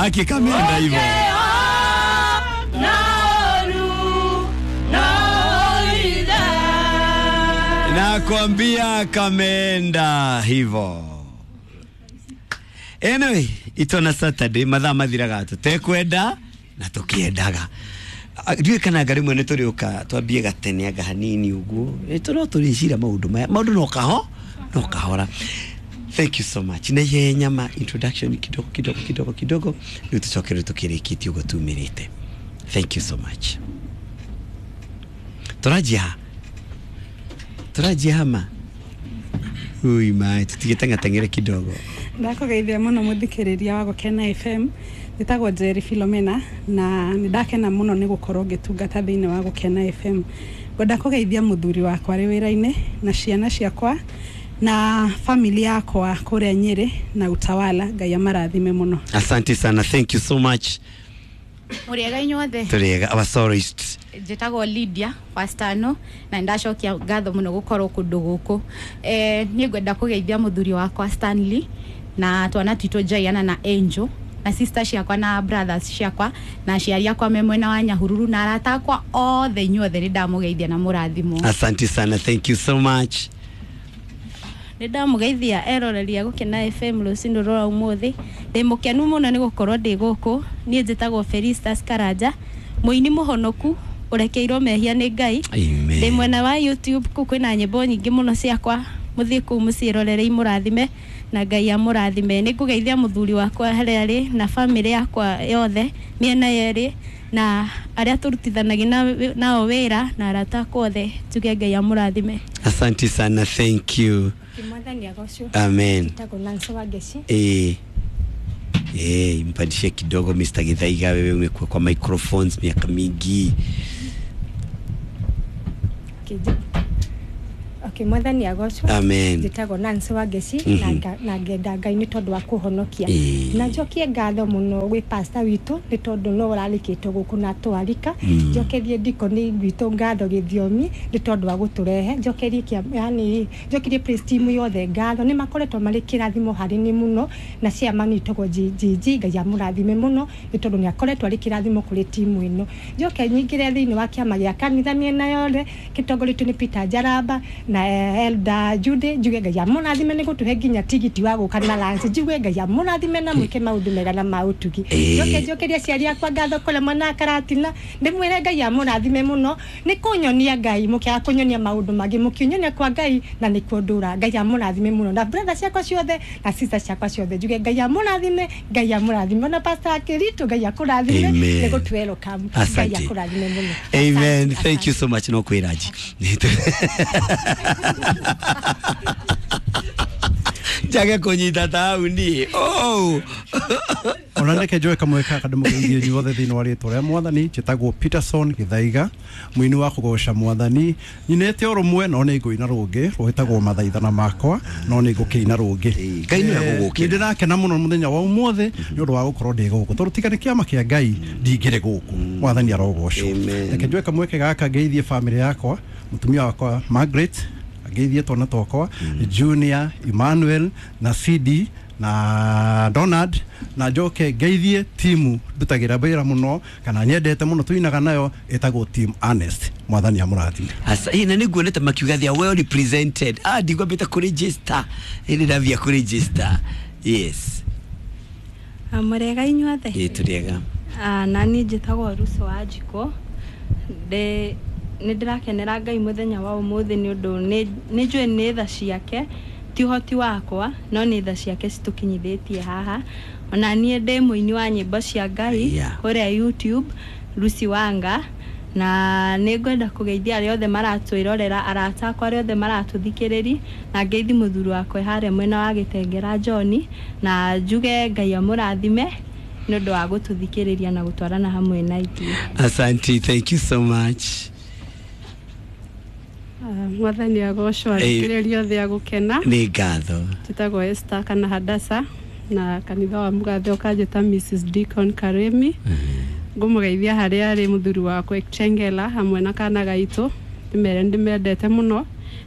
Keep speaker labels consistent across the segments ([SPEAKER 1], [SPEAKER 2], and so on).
[SPEAKER 1] Akikameenda hivyo. Nakwambia kameenda hivyo. Anyway, itona Saturday mathaa mathiraga tutekwenda na tukiendaga. Ndiũĩ kana anga rĩmwe nĩ tũrĩũka twambie gatene anga hanini ũguo. No tũrĩcira maũndũ maya, maũndũ no kaho no kahora. Thank you so much. Na ihenya ma introduction kidogo kidogo kidogo kidogo rĩu tũcoke rĩu tũkĩrĩkĩtie ũguo tumĩrĩte. Thank you so much. Tũranjia ha? Tũranjia hama? Ui mai, tũtigĩteng'ateng'ere kidogo.
[SPEAKER 2] Ndakũgeithia mũno mũthikĩrĩria wa Gũkena FM. Njĩtagwo Njeri Philomena na nĩ ndakena mũno nĩ gũkorwo ngĩtungata thĩinĩ wa Gũkena FM. Ngwenda kũgeithia mũthuri wakwa arĩ wĩra-inĩ na ciana ciakwa na family yakwa kũrĩa Nyĩrĩ na Utawala. Ngai amarathime mũno.
[SPEAKER 1] Asante sana, thank you so much.
[SPEAKER 3] Mũrĩega inyuothe.
[SPEAKER 1] Tũrĩega, our soloist.
[SPEAKER 3] Njĩtagwo Lydia Wastano na ndacokia ngatho mũno gũkorwo kũndũ gũkũ. Niĩ ngwenda kũgeithia mũthuri wakwa Stanley na twana twitũ Jaiana na Angel na sister ciakwa na brothers ciakwa na aciari akwa me mwena wa Nyahururu na arata akwa othe inyuothe nĩ ndamũgeithia na mũrathimwo.
[SPEAKER 1] Asante sana, thank you so much.
[SPEAKER 4] Nĩ ndamũgeithia eroreria Gũkena FM rũcinĩ rwa ũmũthĩ. Ndĩ mũkenu mũno nĩ gũkorwo ndĩ gũkũ. Niĩ njĩtagwo Felistas Karanja, mũini mũhonoku ũrekeirwo mehia nĩ Ngai.
[SPEAKER 1] Amen.
[SPEAKER 4] Ndĩ mwena wa YouTube kũu kwĩna nyĩmbo nyingĩ mũno ciakwa, mũthiĩ kũu mũciĩrorere imũrathime na Ngai amũrathime. Nĩ ngũgeithia mũthuri wakwa harĩa arĩ na famĩlĩ yakwa yothe mĩena yerĩ na arĩa tũrutithanagia nao wĩra na arata akwa othe, njuge Ngai amũrathime.
[SPEAKER 1] Asante sana, thank you.
[SPEAKER 5] Mwathani agocwo.
[SPEAKER 1] Amen.
[SPEAKER 5] Njĩtagwo Nancy Wangeci.
[SPEAKER 1] Mpandishie kidogo Mr. Githaiga, wewe umekuwa kwa microphones miaka mingi.
[SPEAKER 5] Okay, Mwathani agocwo.
[SPEAKER 1] Amen.
[SPEAKER 5] Njĩtagwo Nancy Wangeci na ngenda Ngai nĩ tondũ wa kũhonokia. Na njokie ngatho mũno gwĩ pastor witũ nĩ tondũ no ũrarĩkĩtwo gũkũ na twarika. Njokerie ndikoni witũ ngatho gĩthiomi nĩ tondũ wa gũtũrehe. Njokerie yani njokerie praise team yothe ngatho, nĩ makoretwo marĩ kĩrathimo harĩ ni mũno na chairman witũgwo GGG, Ngai amũrathime mũno nĩ tondũ nĩ akoretwo arĩ kĩrathimo kũrĩ timu ĩno. Njoke nyingĩre thĩinĩ wa kĩama gĩa kanitha mĩena yothe gĩtongoretio nĩ Peter Njaramba na Elder Jude, njuge Ngai amũrathime nĩ gũtũhe nginya tigiti wa gũka na lunch. Njuge Ngai amũrathime na mwĩke maũndũ mega na ma ũtugi. Njoke njokerie aciari akwa ngatho kũrĩa mwena wa Karatina, ndĩmwĩre Ngai amũrathime mũno nĩ kũnyonia Ngai, mũkĩaga kũnyonia maũndũ mangĩ mũkĩnyonia kwa Ngai na nĩkuo ndũra. Ngai amũrathime mũno na brother ciakwa ciothe na sister ciakwa ciothe, njuge Ngai amũrathime, Ngai amũrathime ona pastor Akĩritũ, Ngai akũrathime nĩ gũtũ welcome. Ngai
[SPEAKER 1] Asante.
[SPEAKER 5] akũrathime mũno.
[SPEAKER 1] Amen. Thank you so much. No kwĩraji. Njage kũnyita tauni. Oh.
[SPEAKER 6] Ona reke njoe kamwe kaka ndĩmũgeithie inyuothe thĩinĩ wa rĩtwa rĩa Mwathani. Njĩtagwo Peterson Gĩthaiga, mũini wa kũgoca Mwathani. Nyinĩte o rũmwe no nĩ ngũina rũngĩ rwĩtagwo Mathaithana Makwa, no nĩ ngũkĩina rũngĩ.
[SPEAKER 1] Ngai nĩwe gũgũkĩra.
[SPEAKER 6] Nĩ ndĩrakena mũno mũthenya wa ũmũthĩ nĩ ũndũ wa gũkorwo ndĩ gũkũ, tondũ tiga nĩ kĩama kĩa Ngai ndingĩrĩ gũkũ. Mwathani arogocwo. Reke njoe kamweke gaka ngeithie famĩlĩ yakwa, mũtumia wakwa Margaret, ngeithie twana twakwa Junior, Emmanuel na CD na Donald, na njoke ngeithie timu ndutagĩra wĩra mũno kana nyendete mũno tuinaga nayo ĩtagwo Team Honest. Mwathani amũrathime.
[SPEAKER 1] Asa, na nĩnguonete makiuga they are well represented. Ndigwambĩte kũregister. Ĩ nĩndambia kũregister. Yes.
[SPEAKER 4] Mũrĩega inyuothe.
[SPEAKER 1] Ĩ tũrĩega.
[SPEAKER 4] Na niĩ njĩtagwo Ruso wa Njikũ. Nĩ ndĩrakenera Ngai mũthenya wa ũmũthĩ nĩ ũndũ nĩ njũĩ nĩ tha ciake, ti ũhoti wakwa no nĩ tha ciake citũkinyithĩtie haha. Ona niĩ ndĩ mũini wa nyĩmbo cia Ngai kũrĩa YouTube, Lucy Wanga, na nĩ ngwenda kũgeithia arĩa othe maratwĩrorera, arata akwa arĩa othe maratũthikĩrĩri, na ngeithi mũthuri wakwa harĩa mwena wa Gĩtengera John, na njuge Ngai amũrathime nĩ ũndũ wa gũtũthikĩrĩria na gũtwarana hamwe na ithuĩ.
[SPEAKER 1] Asante, thank you so much.
[SPEAKER 2] Mwathani agocwo, athikĩrĩria othe a Gũkena.
[SPEAKER 1] Nĩ ngatho.
[SPEAKER 2] Njĩtagwo Esther kana Hadasa na kanitha wa Mũgathe ũkanjĩta Mrs Deacon Karemi. Ngũmũgeithia harĩa arĩ mũthuri wakwa Chengela hamwe na kana gaitũ, ndĩmere ndĩmendete mũno.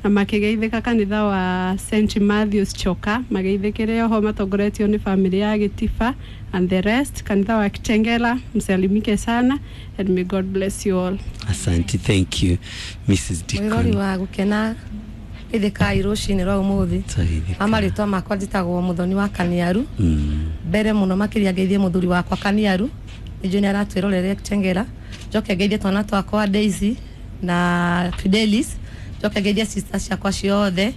[SPEAKER 2] Na makigeithĩka kanitha wa St Matthews Choka, mageithĩkĩre oho matongoretio nĩ family ya Gĩtiba and the rest. Kanitha wa Kitengela, msalimike sana and may God bless you all.
[SPEAKER 1] Asante, thank you Mrs.
[SPEAKER 7] Mwirori
[SPEAKER 1] Deacon.
[SPEAKER 7] Wa gukena ithikai rucini rwa umuthi.
[SPEAKER 1] Twageithĩka.
[SPEAKER 7] Amarĩtwa makwa njĩtagwo Muthoni wa Kaniaru. Mbere mũno makĩria ngeithie mũthuri wakwa Kaniaru, nĩnjũĩ nĩ aratwĩrorere Kitengela. Njoke ngeithie twana twakwa Daisy na Fidelis. Njoke ngeithie sisters ciakwa ciothe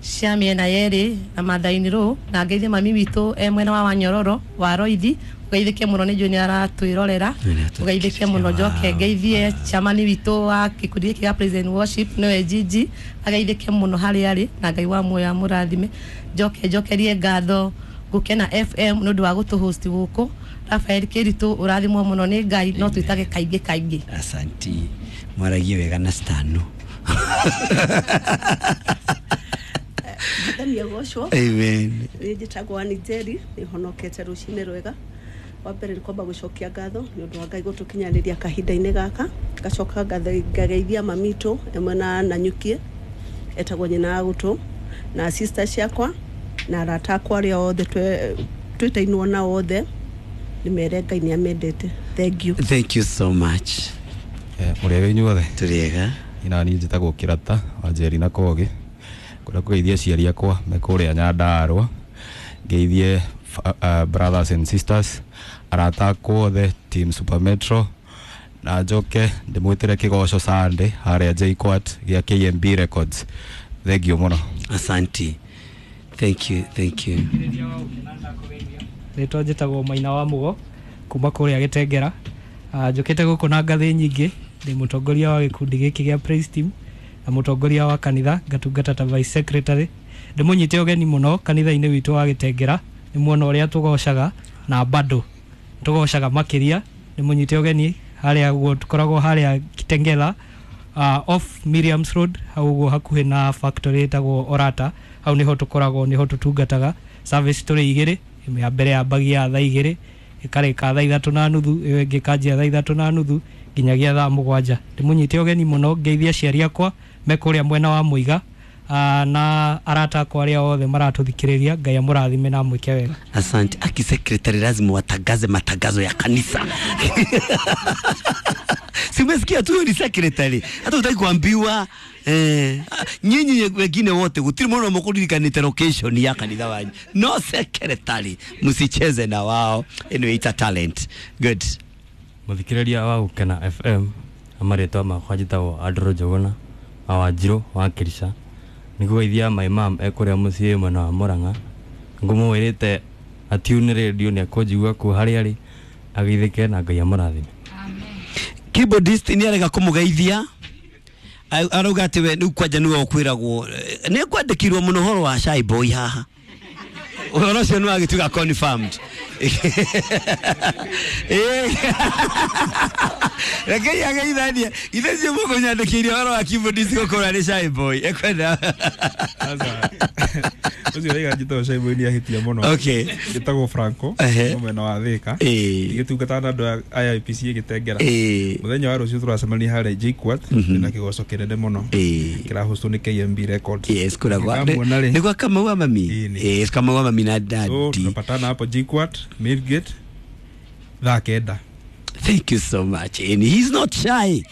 [SPEAKER 7] cia mĩena yerĩ na Mathaini rũ, na ngeithie mami witũ e mwena wa Wanyororo wa Roithi, ũgeithĩke mũno, nĩnjũĩ nĩ aratwĩrorera, ũgeithĩke mũno. Njoke ngeithie chamani witũ wa gĩkundi gĩkĩ gĩa Praise and Worship, nĩwe Gigi, ageithĩke mũno harĩa arĩ, na Ngai wa muoyo amũrathime. Njoke njokerie ngatho Gũkena FM nĩ ũndũ wa gũtũ host gũkũ. Rafael Kĩritũ, ũrathimwo mũno nĩ Ngai, no twĩtage kaingĩ kaingĩ.
[SPEAKER 1] Asante, mwaragie wega na stano.
[SPEAKER 8] Mwathani agocwo.
[SPEAKER 1] Amen.
[SPEAKER 8] Niĩ njĩtagwo Ann Njeri, nĩ honokete rũcinĩ rwega. Wa mbere nĩ kwamba gũcokia ngatho nĩ ũndũ wa Ngai gũtũkinyanĩria kahinda-inĩ gaka. Ngacoka ngageithia mamitũ ĩmwe na Nanyukie, etagwo nyina wa gũtũ, na sister ciakwa na arata akwa arĩa othe twĩtainwo nao othe, nĩ mere Ngai nĩ amendete. Thank you.
[SPEAKER 1] Thank you so much.
[SPEAKER 9] Mũrĩ ega inyuothe?
[SPEAKER 1] Tũrĩ ega.
[SPEAKER 9] Ina niĩ njĩtagwo Kĩrata wa Njeri na Kogi, ngwenda kũgeithia aciari akwa me kũrĩa Nyandarũa, ngeithie brothers and sisters, arata akwa othe, team Super Metro, na njoke ndĩmwĩtĩre kĩgoco Sunday harĩa JKUAT gĩa KMB Records. Thank you mũno.
[SPEAKER 1] Asante, thank you, thank you.
[SPEAKER 10] Rĩtwa njĩtagwo Maina wa Mũgo kuma kũrĩa Gĩtengera. Njũkĩte gũkũ na ngathĩ nyingĩ, ndĩ mũtongoria wa gĩkundi gĩkĩ gĩa Praise Team na mũtongoria wa kanitha, ngatungata ta vice secretary. Ndĩmũnyite ũgeni mũno kanitha-inĩ witũ wa Gĩtengera, nĩ muona ũrĩa tũgocaga na bado tũgocaga makĩria. Ndĩmũnyite ũgeni harĩa ũguo tũkoragwo harĩa Kitengela, off Miriam's Road, hau ũguo hakuhĩ na factory ĩtagwo Orata, hau nĩho tũkoragwo, nĩho tũtungataga. Service tũrĩ igĩrĩ, ĩmwe ya mbere yambagia thaa 2 ĩkarĩka thaa 3:30, ĩyo ĩngĩ ĩkanjia thaa 3:30 nginyagia thaa 7. Ndĩmũnyite ũgeni mũno, ngeithie aciari akwa me kũrĩa mwena wa Mũiga, na arata akwa arĩa othe maratũthikĩrĩria. Ngai amũrathime na amwĩke wega.
[SPEAKER 1] Asante. Aki secretary lazima watangaze matangazo ya kanisa. Si umesikia tu, huyo ni secretary, hata utaki kuambiwa. Nyinyi wengine wote gutiri mũno mũkũririkanĩte location ya kanitha wanyu, no secretary msicheze na wao. Anyway, it's a talent. Good.
[SPEAKER 11] Mũthikĩrĩria wa Gũkena FM, marĩtwa makwa njĩtagwo Andrew Njũgũna wa Wanjirũ wa Kĩrica. Nĩngũgeithia my mom e kũrĩa mũciĩ mwena wa Mũrang'a, ngũmwĩrĩte atune radio nĩ ekũnjigua kũu harĩa arĩ, ageithĩke na Ngai amũrathime.
[SPEAKER 1] Keyboardist nĩ arega kũmũgeithia, arauga atĩ we rĩu kwanja nĩwe ũkwĩragwo, nĩ kwandĩkirwo mũno ũhoro wa shy boy haha, ũhoro ũcio nĩ wagĩtuĩka confirmed. Rekei ageithanie ithe cio mũkũnyandĩkĩire ũhoro wa keyboardist gũkorwo arĩ shy boy ekwenda.
[SPEAKER 12] Ũcio raiga njĩtagwo Shy Boy nĩ ahĩtia mũno.
[SPEAKER 1] Okay.
[SPEAKER 12] Njĩtagwo Franco, mwena wa Thĩka. Ngĩtungata na andũ a IPC Gĩtengera. Mũthenya wa rũciũ tũracemania harĩa JKUAT na kĩgoco kĩnene mũno kĩrahostwo nĩ KMB Records.
[SPEAKER 1] Yes, kũrĩa gwa
[SPEAKER 12] Nĩngamuona rĩ.
[SPEAKER 1] Nĩ gwa Kamau wa mami. Yes, Kamau wa mami na
[SPEAKER 12] So
[SPEAKER 1] daddy.
[SPEAKER 12] tunapatana hapo JKUAT main gate thaa 9.
[SPEAKER 1] Thank you so much. And he's not shy.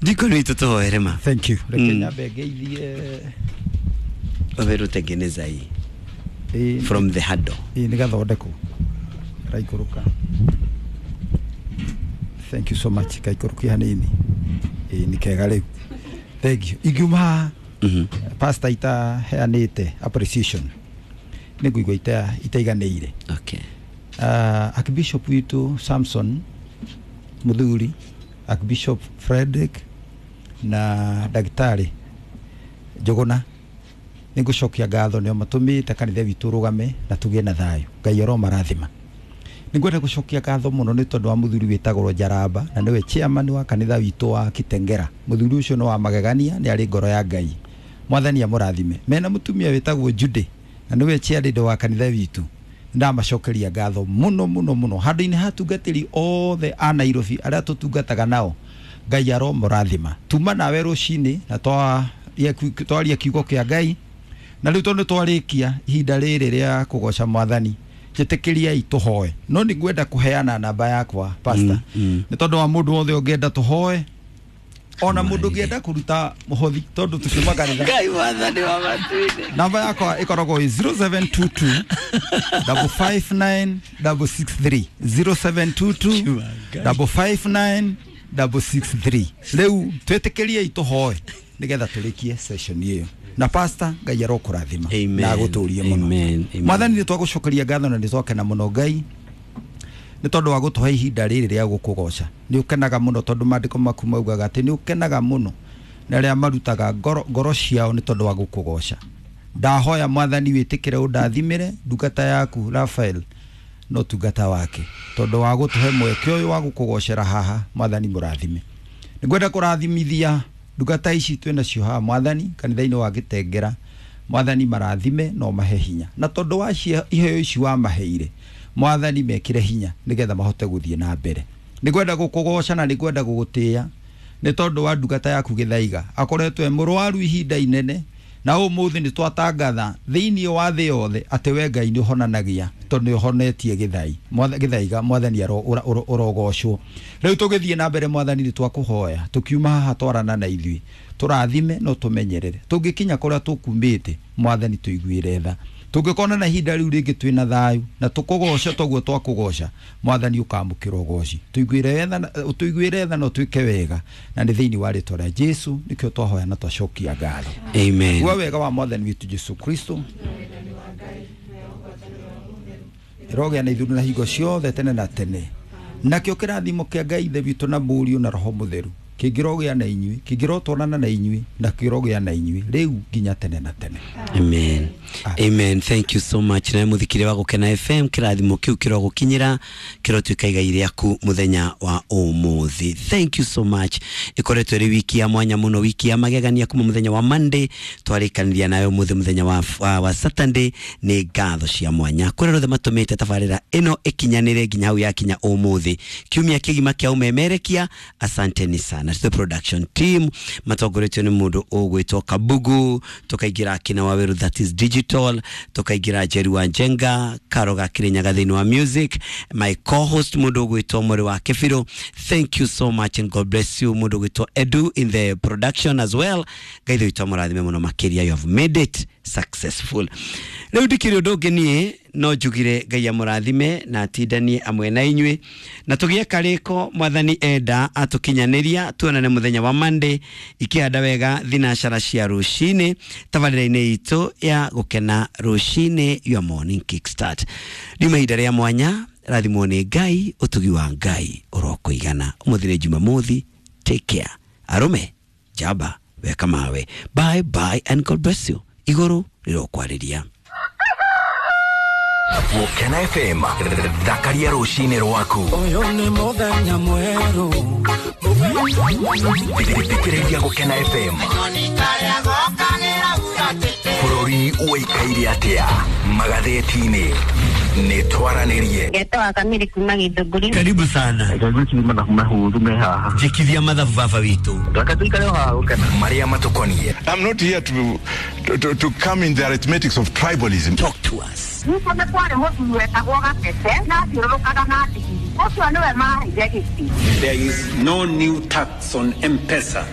[SPEAKER 1] Ndiko nĩ tũtũhoere ma.
[SPEAKER 13] Thank you. Reke nyambe ngeithie.
[SPEAKER 1] Waberu tengeneza hii from the handle.
[SPEAKER 13] Ĩĩ, nĩ gathondekwo karaikũrũka. Thank you so much. Kaikũrũkia hanini. Ĩĩ, nĩ kega rĩu. Thank you. Ingiuma haha, pastor itaheanĩte appreciation, nĩ ngũigua itaiganĩire.
[SPEAKER 1] Okay.
[SPEAKER 13] Archbishop witũ Samson Muthuri, Archbishop Frederick na ndagĩtarĩ Njũgũna, nĩ ngũcokia ngatho nĩo matũmĩte kanitha witũ ũrũgame na tũgĩe na thayũ. Ngai aromarathima. Nĩ ngwenda gũcokia ngatho mũno nĩ tondũ wa mũthuri wĩtagwo Njaramba, na nĩwe chairman wa kanitha witũ wa Kitengera. Mũthuri ũcio nĩ wa magegania, nĩ arĩ ngoro ya Ngai. Mwathani amũrathime. Mena mũtumia wĩtagwo Jude, na nĩwe chairlady wa kanitha witũ. Ndamacokeria ngatho mũno mũno mũno handũ-inĩ ha atungatĩri othe a Nairobi arĩa tũtungataga nao. Ngai aromũrathima. Tuma nawe rũcinĩ na twaria kiugo kĩa Ngai, na rĩu tondũ twarĩkia ihinda rĩrĩ rĩa kũgoca mwathani, njĩtĩkĩriai tũhoe. No nĩ ngwenda kũheana namba yakwa pastor, nĩ tondũ wa mũndũ wothe ũngĩenda tũhoe, ona mũndũ ũngĩenda kũruta mũhothi, tondũ tũkiuma kanitha.
[SPEAKER 1] Ngai wathani wa matuinĩ.
[SPEAKER 13] Namba yakwa ĩkoragwo ĩ 0722 559 663, 0722 559 663. Rĩu twĩtĩkĩriei tũhoe nĩgetha tũrĩkie session ĩyo. Na pastor, Ngai arokũrathima na agũtũrie mũno. Mwathani, nĩ twagũcokeria ngatho na nĩ twakena mũno Ngai nĩ tondũ wa gũtũhe ihinda rĩrĩ rĩa gũkũgoca. Nĩ ũkenaga mũno tondũ maandĩko maku maugaga atĩ nĩ ũkenaga mũno na arĩa marutaga ngoro ciao nĩ tondũ wa gũkũgoca. Ndahoya mwathani wĩtĩkĩre ũndathimĩre ndungata yaku Raphael no tungata wake, tondũ wa gũtũhe mweke ũyũ wa gũkũgocera haha. Mwathani mũrathime. Nĩngwenda kũrathimithia ndungata ici twĩ nacio haha mwathani kanitha-inĩ wa Gĩtengera. Mwathani marathime no mahe hinya, na tondũ wa iheo ici wamaheire mwathani mekĩre hinya nĩgetha mahote gũthiĩ na mbere. Nĩngwenda gũkũgoca na nĩngwenda gũgũtĩĩa nĩ tondũ wa ndungata yaku Gĩthaiga, akoretwo e mũrwaru ihinda inene, na ũmũthĩ nĩ twatangatha thĩinĩ wa thĩ yothe atĩ we Ngai nĩ ũhonanagia, tondũ nĩ ũhonetie Gĩthaiga. Mwathani ũrogocwo. Rĩu tũgĩthiĩ na mbere mwathani nĩ twakũhoya tũkiuma haha twarana na ithuĩ, tũrathime no tũmenyerere, tũngĩkinya kũrĩa tũkumĩte mwathani tũiguĩre tha, tũngĩkona na ihinda rĩu rĩngĩ twĩna thayũ na tũkũgoca toguo twakũgoca mwathani ũkamũkĩra ũgoci. Tũiguĩre tha na ũtwĩke wega, na nĩ thĩinĩ wa rĩtwa rĩa Jesu nĩkĩo twahoya na twacokia ngatho.
[SPEAKER 1] Amen.
[SPEAKER 13] Gua wega wa mwathani witũ Jesu Kristo ĩrogĩa na ithuĩ na hingo ciothe tene na tene. Nakĩo kĩrathimo kĩa Ngai Ithe witũ na Mũriũ na Roho Mũtheru kĩngĩrogĩa na inyuĩ, kĩngĩrotwarana na inyuĩ, na kĩrogĩa na inyuĩ rĩu nginya tene na tene.
[SPEAKER 1] Amen. Amen. Thank you so much. Na muthikire wa Gũkena FM, kĩrathimo kĩu kĩrogũkinyĩra kĩrotuĩka igai rĩaku mũthenya wa ũmũthĩ. Thank you so much. Ĩkoretwo ĩrĩ wiki ya mwanya mũno, wiki ya magegania kuma mũthenya wa Monday twarĩkanĩria nayo ũmũthĩ mũthenya wa Saturday. Nĩ ngatho cia mwanya kũrĩa othe matũmĩte tabarĩra ĩno ĩkinyanĩre nginya hau yakinya ũmũthĩ, kiumia kĩgima kĩa ũmemerekia. Asanteni sana to the production team matongoretio nĩ mũndũ ũgwĩtwo Kabugu, tukaingĩra kina Waweru that is digital, tukaingĩra Jerry wa Njenga, Karo ga Kirinyaga thĩinĩ wa music, my co-host mũndũ ũgwĩtwo Mũrĩ wa Kĩbirũ. Thank you so much and God bless you. Mũndũ ũgwĩtwo Edu in the production as well. Ngai witũ amũrathime mũno makĩria. You have made it successful. Rĩu ndikĩrĩ ũndũ ũngĩ niĩ no njugire Ngai amũrathime na atindanie amwe na inyuĩ, na tũgĩe karĩko mwathani enda atũkinyanĩria, tuonane mũthenya wa Monday ikĩhanda wega thinacara cia rũcinĩ tabarĩra-inĩ itũ ya Gũkena Rũcinĩ, your morning kickstart. Riuma ihinda rĩa mwanya, rathimwo nĩ Ngai, ũtugi wa Ngai ũrokũigana. Ũmũthĩ nĩ Jumamothi, take care. Arũme njamba weka mawe. Bye bye and God bless you. Igũrũ rĩrokwarĩria.
[SPEAKER 14] Gũkena FM, thakaria rũcinĩ rwaku.
[SPEAKER 15] Ũyũ nĩ mũthenya mwerũ.
[SPEAKER 14] Thikĩrĩria Gũkena FM. Bũrũri ũikaire atĩa magathĩti-inĩ? Nĩ twaranĩrie.
[SPEAKER 16] Ngetwa Kamiri kuma Gĩthũngũri.
[SPEAKER 1] Karibu sana. Njĩkithia mathabu baba witũ.
[SPEAKER 14] Marĩa matũkoniĩ.
[SPEAKER 17] I'm not here to come in the arithmetics of tribalism.
[SPEAKER 1] Talk to us.
[SPEAKER 16] Nĩkuo nĩ kwarĩ mũthuri wetagwo Gatete na athiũrũrũkaga na ndigiri. Ũcio nĩwe maheire gĩtĩ.
[SPEAKER 18] There is no new tax on M-Pesa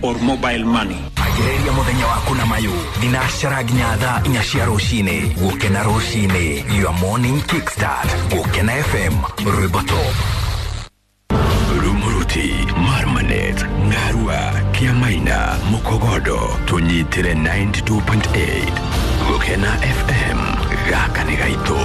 [SPEAKER 18] or mobile money.
[SPEAKER 14] Agĩrĩria mũthenya waku na mayũ thinacara nginya thaa 4 cia rũcinĩ. Gũkena Rũcinĩ, your morning kickstart. Gũkena FM, rwĩmbo top. Rumuruti, Marmanet, Ngarua, Kiamaina, Mukogodo, tũnyitĩre 92.8. Gũkena FM, gaka nĩ gaitũ.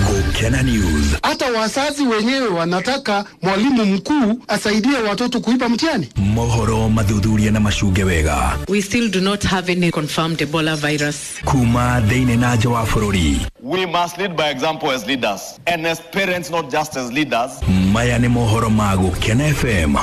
[SPEAKER 14] Gũkena News.
[SPEAKER 19] Hata wazazi wenyewe wanataka mwalimu mkuu asaidie watoto kuiba mtihani.
[SPEAKER 14] Mohoro mathuthuria na macunge wega.
[SPEAKER 20] We still do not have any confirmed Ebola virus.
[SPEAKER 14] Kuma thĩinĩ na nja wa bũrũri.
[SPEAKER 21] We must lead by example as leaders and as parents, not just as leaders.
[SPEAKER 14] Maya nĩ mohoro ma Gũkena FM.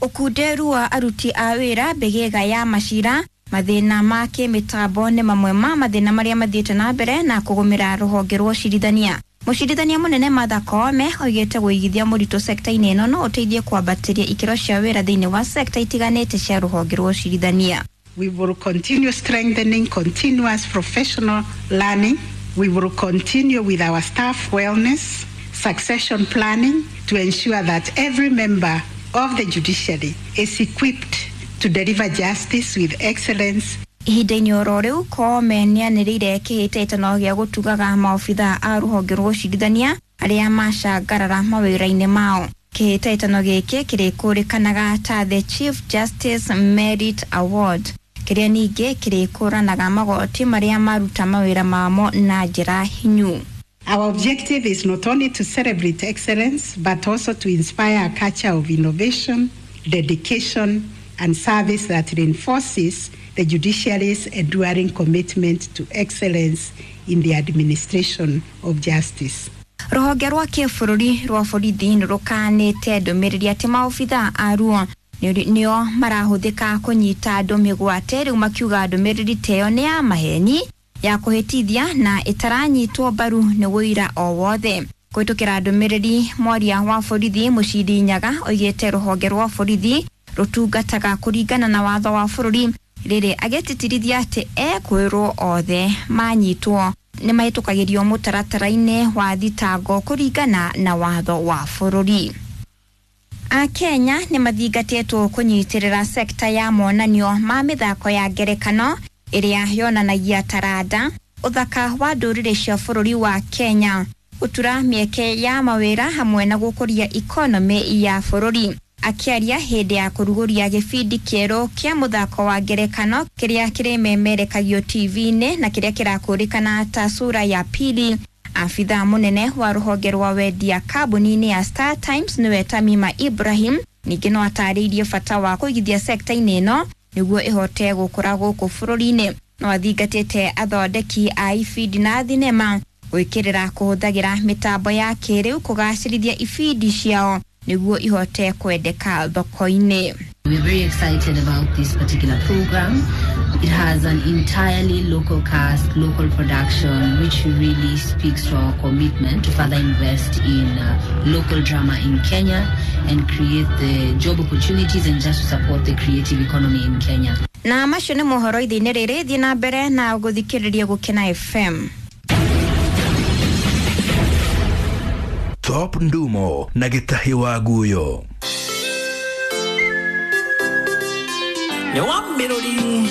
[SPEAKER 22] Ũkunderu wa aruti a wĩra mbĩgĩga ya macira, mathĩna ma kĩmĩtambo nĩ mamwe ma mathĩna marĩa mathiĩte na mbere na kũgũmĩra rũhonge rwa ũcirithania. Mũcirithania mũnene Martha Koome oigĩte gũigithia mũritũ sekta-inĩ ĩno no ũteithie kwambatĩria ikĩro cia wĩra thĩinĩ wa sekta itiganĩte cia rũhonge rwa ũcirithania.
[SPEAKER 3] We will continue strengthening continuous professional learning. We will continue with our staff wellness, succession planning to ensure that every member of the judiciary is equipped to deliver justice with excellence.
[SPEAKER 22] Ihinda-inĩ oro rĩu Koome nĩanĩrĩire kĩhĩtahĩtano gĩa gũtugaga maobithaa a rũhonge rwa ũcirithania arĩa macangarara mawĩra-inĩ mao. Kĩhĩtahĩtano gĩkĩ kĩrĩkũrĩkanaga ta The Chief Justice Merit Award, kĩrĩa ningĩ kĩrĩkũranaga magoti marĩa maruta mawĩra mamo na njĩra hinyu.
[SPEAKER 3] Our objective is not only to celebrate excellence, but also to inspire a culture of innovation, dedication, and service that reinforces the judiciary's enduring commitment to excellence in the administration of justice.
[SPEAKER 22] Rũhonge rwa kĩbũrũri rwa borithi nĩ rũkanĩte ndũmĩrĩri atĩ maobithaa aruo nĩo marahũthĩka kũnyita andũ mĩgwate, rĩu makiuga ndũmĩrĩri ta ĩyo nĩ ya maheni ya kũhĩtithia na ĩtaranyitwo mbaru nĩ wũira o wothe. Kũhĩtũkĩra ndũmĩrĩri, mwaria wa borithi Mũciri Nyaga oigĩte rũhonge rwa borithi rũtungataga kũringana na watho wa bũrũri, rĩrĩ agĩtĩtĩrithia atĩ ekwĩrwo othe manyitwo nĩ mahĩtũkagĩrio mũtaratara-inĩ wa thitango kũringana na watho wa bũrũri. Akenya nĩ mathingatĩtwo kũnyitĩrĩra sekta ya monanio ma mĩthako ya ngerekano ĩrĩa yonanagia taranda, ũthaka wa ndũrĩrĩ cia bũrũri wa Kenya, gũtura mĩeke ya mawĩra hamwe na gũkũria ikonomĩ ya bũrũri. Akĩaria hĩndĩ ya kũrugũria gĩbindi kĩerũ kĩa mũthako wa ngerekano kĩrĩa kĩrĩmemerekagio TV-inĩ na kĩrĩa kĩrakũrĩkana ta Sura ya Pili, abithaa mũnene wa rũhonge rwa wendia kambuni-inĩ ya Star Times nĩwe Tamima Ibrahim ningĩ no atarĩirie bata wa kũigithia sekta-inĩ ĩno nĩguo ĩhote gũkũra gũkũ bũrũri-inĩ. No athingatĩte athondeki a ibindi na thinema gwĩkĩrĩra kũhũthagĩra mĩtambo ya kĩrĩu kũgacĩrithia ibindi ciao nĩguo ihote kwendeka thoko-inĩ.
[SPEAKER 5] We're very excited about this particular program. It has an entirely local cast, local production, which really speaks to our commitment to further invest in local drama in Kenya and create the job opportunities and just to support the creative economy in Kenya.
[SPEAKER 22] Na macio nĩ mohoro ithe-inĩ rĩrĩ, thiĩ na mbere na gũthikĩrĩria Gũkena FM.
[SPEAKER 14] Top Ndumo na Gĩtahi wa Guyo.
[SPEAKER 15] Nĩ wa mĩrũri.